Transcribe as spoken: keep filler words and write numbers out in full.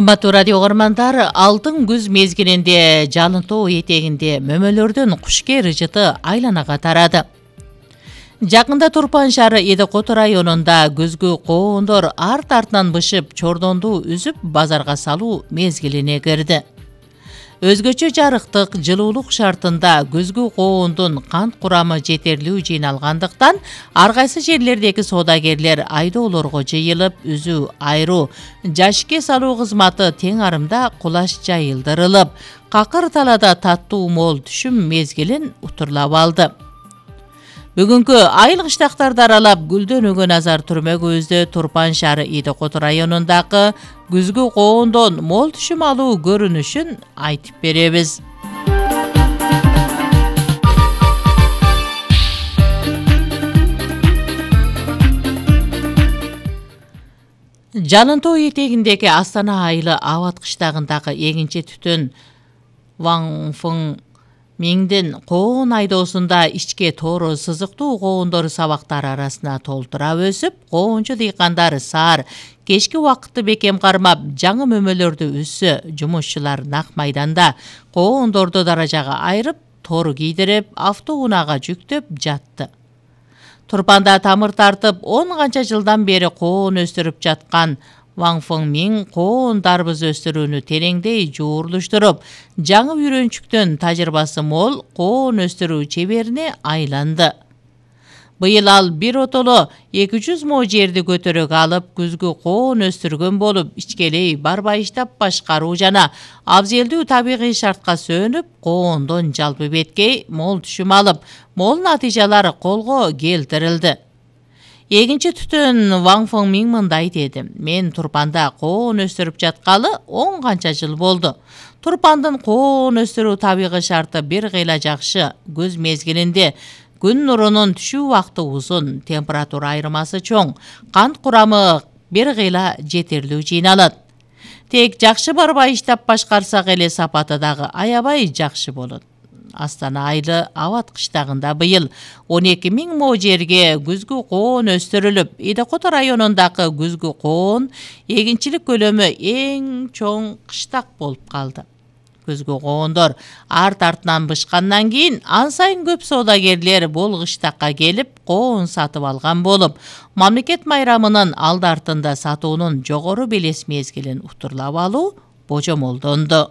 Кымбаттуу радио угармандар, алтын күз мезгилинде жалынтоо этегинде мөмөлөрдүн кушкер ыжыты айланага тарады. Жакында Турпан шаары Эдекото районунда күзгү коондор арт-артынан бышып, чордонду үзүп базарга салуу мезгилине кирди. Өзгөчө жарыктык, жылуулук шартында күзгү коондун кант курамы жетерлүү жыйналгандыктан, ар кайсы жерлердеги соодагерлер айдоолорго жыйылып, үзүү айруу, жашикке салуу кызматы тең арымда кулаш жайылдырылып, какыр талада таттуу мол түшүм мезгилин утурлап алды. Бүгүнкү айыл кыштактарды аралап гүлдөнүүгө назар түрмөгүбүздө Турпан шаары Эдекото районундагы күзгү коондон мол түшүм алуу көрүнүшүн айтып беребиз. Жалынтоо этегиндеги Астана айылы Абат кыштагындагы эгинче түтүн Ваңфың Миңдин коон айдоосунда ичке тоору сызыктуу коондор сабактар арасына толтура өсүп, коончу дыйкандар саар кечки убакытты бекем кармап, жаңы мөмөлөрдү үзсө, жумушчулар нак майданда коондорду даражага айырып, тор кийдирип, автоунаага жүктөп жатты. Турпанда тамыр тартып, он канча жылдан бери коон өстүрүп жаткан Ваңфың Миң коон дарбыз өстүрүүнү тереңдей жуурлуштуруп, жаңы үйрөнчүктөн тажрыйбасы мол коон өстүрүү чеберине айланды. Быйыл ал бир отоло эки жүз мо жерди көтөрөк алып, күзгү коон өстүргөн болуп, ичкелей барбайыштап башкаруу жана абзелдүү табигый шартка сөөнүп, коондон жалпы беткей мол түшүм алып, мол натыйжалар колго келтирилди. Эгинчи түтүн Ваңфың Миң мындай деди: "Мен Турпанда коон өстүрүп жаткалы он канча жыл болду. Турпандын коон өстүрүү табигый шарты бир кыйла жакшы. Күз мезгилинде күн нурунун түшүү убакыты узун, температура айырмасы чоң, кант курамы бир кыйла жетерлүү жыйналат. Тек жакшы барбайыштап башкарсак эле сапаты дагы аябай жакшы болот." Астана айылы Абат кыштагында быйыл он эки миң мо жерге күзгү коон өстүрүлүп, Эдекото районундагы күзгү коон эгинчилик көлөмү эң чоң кыштак болуп калды. Күзгү коондор арт-артынан бышкандан кийин ан сайын көп соодагерлер бул кыштакка келип коон сатып алган болуп, мамлекет майрамынын алды артында сатуунун жогору белес мезгилин утурлап алуу божомолдонду.